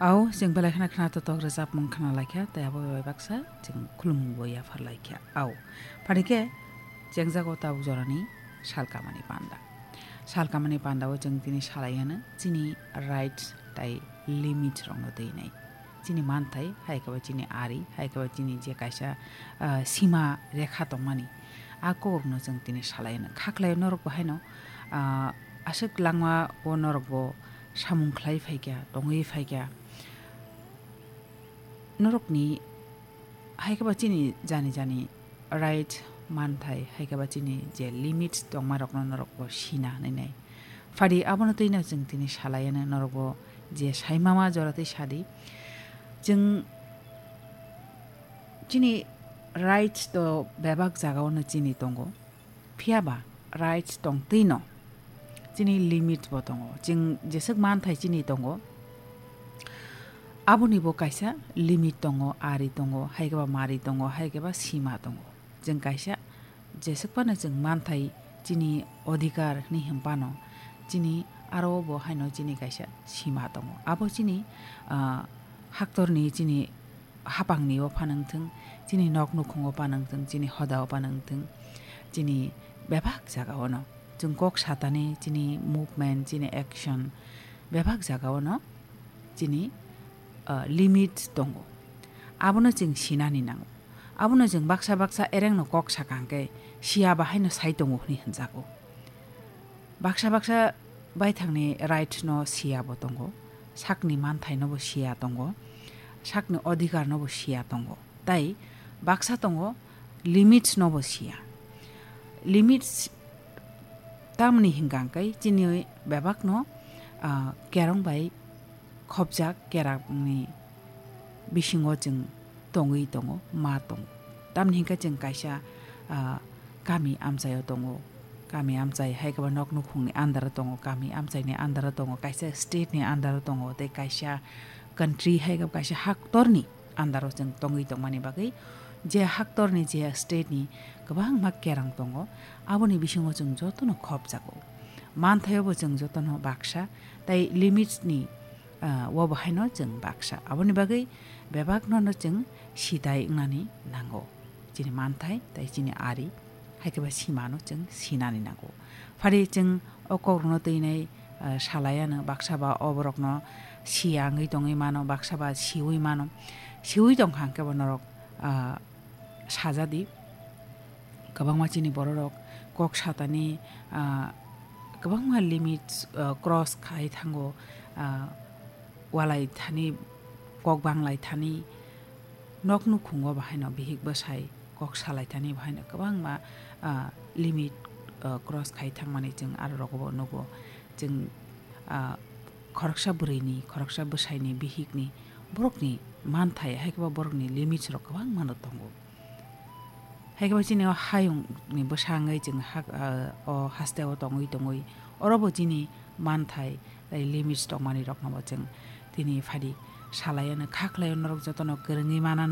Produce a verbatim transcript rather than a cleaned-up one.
Au, chwng belai kheno khna totok rwchapmung khna laikha, tei abo bai baksa chwng khulumung bo yaphar laikha. Au, phani khe chengjago tabuk jorani salkamani panda. Salkamani panda o chwng tini salai ano chini rights tei limit rokno twi nai. Chini manthai, hai khe ba chini ari, hai khe ba chini je kaisa, ah, sima rekha tongmani, a kokrokno chwng tini salai ano. Khaklai norok bo haino, ah, aswk langma o norok bo samung khlai phaikha, tongwi phaikha. Norokni hai khe ba chini jani jani right manthai, hai khe ba chini je limit tongma rokno norok bo sina hinwi nai. Phadi abono twi no chwng tini salai ano norok bo je sai mama jora twi sadi. Chwng chini right to bebak jaga o no chini tongo. Phiya ba rights tong twi no chini limit bo tongo. Chwng jeswk manthai chini tongo, aboni bo kaisa limit tongo, ari tongo, hai khe ba mari tongo, hai khe ba sima tongo. Chwng kaisa jeswk phano chwng manthai chini odhikar hinwi hwn phano chini aro bo haino chini kaisa sima tongo. Abo chini, ah, haktorni chini hapangni o phanang thung, chini nok nukhung o phanang thung, chini hoda o phanang thung, chini bebak jaga o no chwng kok satani, chini movement, chini action bebak jaga o no chini, ah, limit tongo. Abono chwng sinani nango. Abono chwng baksa baksa ereng no kok sakang khe siya bahai no sai tongo hinwi hwnjago. Baksa baksa baithangni right no siya bo tongo, sakni manthai no bo siya tongo, sakni odhikar no bo siya tongo, tei baksa tongo limits no bo siya. Limits tamni hinkang kai chini bebak no, ah, kerong bai khopjak kerakni bisingo chwng tongwi tongo, ma tongo. Tamni hinkhe chwng kaisa, ah, kami amchaio tongo. Kami amchai hai khe ba nok nukhungni under o tongo, kami amchaini under o tongo, kaisa state ni under o tongo, tei kaisa country hai khe kaisa haktorni under o chwng tongwi tongmani bagwi je haktorni je state ni kwbangma kerang tongo, aboni bisingo chwng jotono khopjago. Manthaio bo chwng jotono baksa tei limits ni ah, o bo haino chwng baksa. Aboni bagwi bebakno no chwng sidai wngnani nango. Chini manthai tei chini ari, hai khe ba simano chwng sinani nango. Phari chwng o kokrokno twinai, ah, salai ano, baksa ba o borokno siya wngwi tongwi mano, baksa ba siwi mano. Siwi tongkha hwnkhe bo norok, ah, sajadi. Kwbangma chini bororok kok satani, ah, kwbangma limit, ah, cross khai thango, ah, walai thani, kok banglai thani, nok nukhungo bahaino bihik bwsai kok salai thani bahaino kwbangma, ah, limit, ah, cross khai thangmani chwng aro rogo bo nugo. Chwng, ah, khoroksa bwrwini, khoroksa bwsaini, bihikni, borokni manthai, hai khe ba borokni limits rok kwbangma no tongo. Hai khe ba chini o hayungni bwsa wngwi chwng hak-, ah, o haste o tongwi tongwi, oro bo chini manthai tei limits tongmani rokno bo chwng tini phadi salai ano, kha khlai o norok jotono kwrwngwi manano.